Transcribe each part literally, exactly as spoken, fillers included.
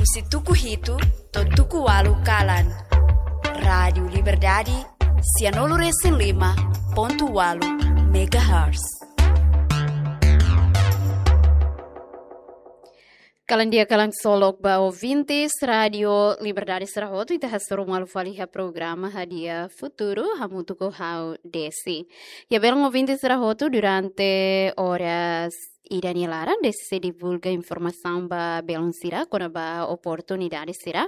Husi tuku hitu to'o tuku ualu kalan. Rádiu Liberdade, sianulu resin lima pontu ualu megahertz. Kalan di'ak, kalan solok ba ouvintes Rádiu Liberdade sira hotu, ita hasoru malu fali iha programa Hadi'a Futuru, hamutuk ho ha'u Desi. Ya, belun ouvintes sira hotu, durante oras ida-ne'e laran, Desi sei divulga informasaun ba belun sira kona-ba oportunidade sira,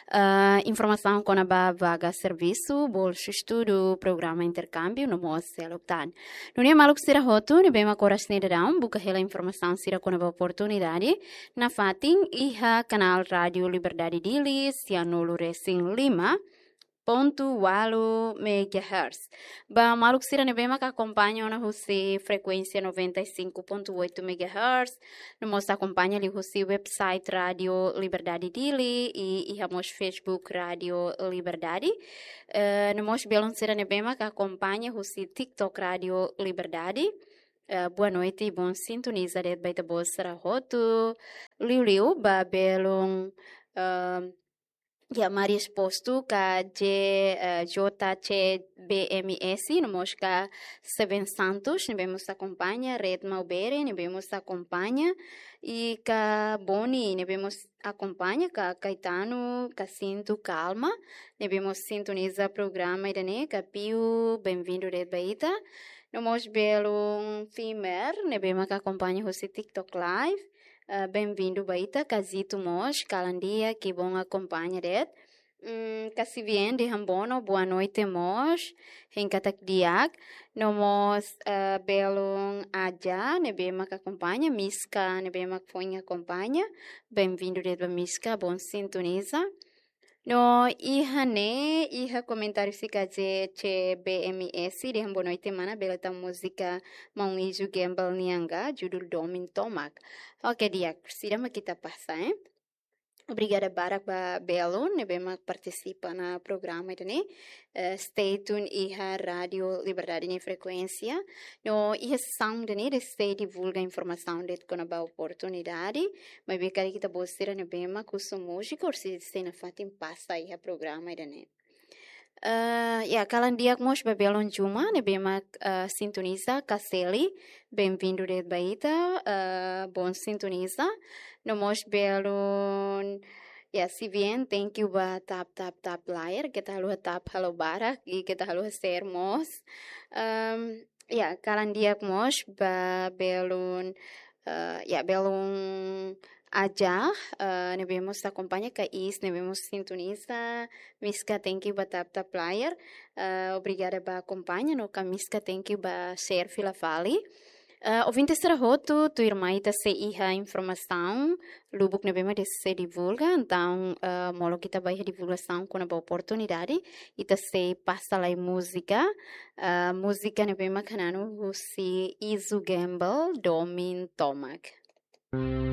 eh, informasaun kona-ba vaga servisu, bolsa estudu, programa interkámbiu, no mós seluk tan. Nune'e maluk sira hotu, ne'ebé mak oras ne'e daudaun buka hela informasaun sira kona-ba oportunidade nafatin iha kanál Rádiu Liberdade Dili, sianulu resin lima pontu ualu megahertz. Ba maluk sira ne'ebé mak akompaña ona husi frekuénsia noventa e cinco ponto oito megahertz, no mós akompaña liuhusi website Rádiu Liberdade Dili, i iha mós Facebook Rádiu Liberdade. Eh, no mós belun sira ne'ebé mak akompaña husi TikTok Rádiu Liberdade. Eh, boa noite, bon sintoniza de'it ba ita-boot sira hotu. Liuliu ba belun, eh, ya, Maria Exposto ka J, eh, J C B M S, no mós ka Seven Santos, ne'ebé mós akompaña, Red Maubere, ne'ebé mós akompaña, i ka Boni, ne'ebé mós akompaña, ka Caetano, ka Sinto Calma, ne'ebé mós sintoniza programa ida-ne'e, ka Piu, benvindu de'it ba ita. No mós belun Fimer, ne'ebé mak akompaña husi TikTok Live, eh, benvindu ba ita, ka Zito mós, kalan di'ak, kibon akompaña de'it. Mm, ka Sivien de Hambono, boa noite mós, hein katak di'ak. No mós, eh, belun Aja, ne'ebé mak akompaña, Miska, ne'ebé mak foin akompaña. Benvindu de'it ba Miska, bon sintoniza. No iha ne'e, iha komentáriu husi ka J C B M S, dehan boa noite mana, bele tau múzika Maun Izu Gembel nian ka, judul Domin Tomak. Oke, di'ak, seidauk mak ita pasa, eh. Obrigada barak ba belun ne'ebé mak partisipa ona programa ida-ne'e. Eh, stay tune iha Rádiu Liberdade nia frekuénsia. No iha sesaun ida-ne'e Desi sei divulga informasaun de'it kona-ba oportunidade. Maibé karik ita-boot sira ne'ebé mak husu múzika, orsida sei nafatin pasa iha programa ida-ne'e. Eh, ya, kalan di'ak mós ba belun Juma, ne'ebé mak, eh, sintoniza, ka Seli, benvindu de'it ba ita, eh, bon sintoniza. No mós belun, ya, Sivien, thank you ba tap, tap, tap layar, keta haluha tap halo barak, i keta haluha share mós. Em, ya, kalan di'ak mós ba belun, eh, ya, belun Aja, eh, ne'ebé mós akompaña, ka Is, ne'ebé mós sintoniza, Miska, thank you ba tap, tap layar, eh, obrigada ba akompaña, no ka Miska, thank you ba share fila fali. Eh, ouvintes sira hotu, tuirmai ita sei iha informasaun lubuk ne'ebé mak Desi sei divulga, entaun, eh, molok ita ba iha divulgasaun kona-ba oportunidade, ita sei pasa lai múzika, eh, múzika ne'ebé mak hananu husi Izu Gembel, Domin Tomak.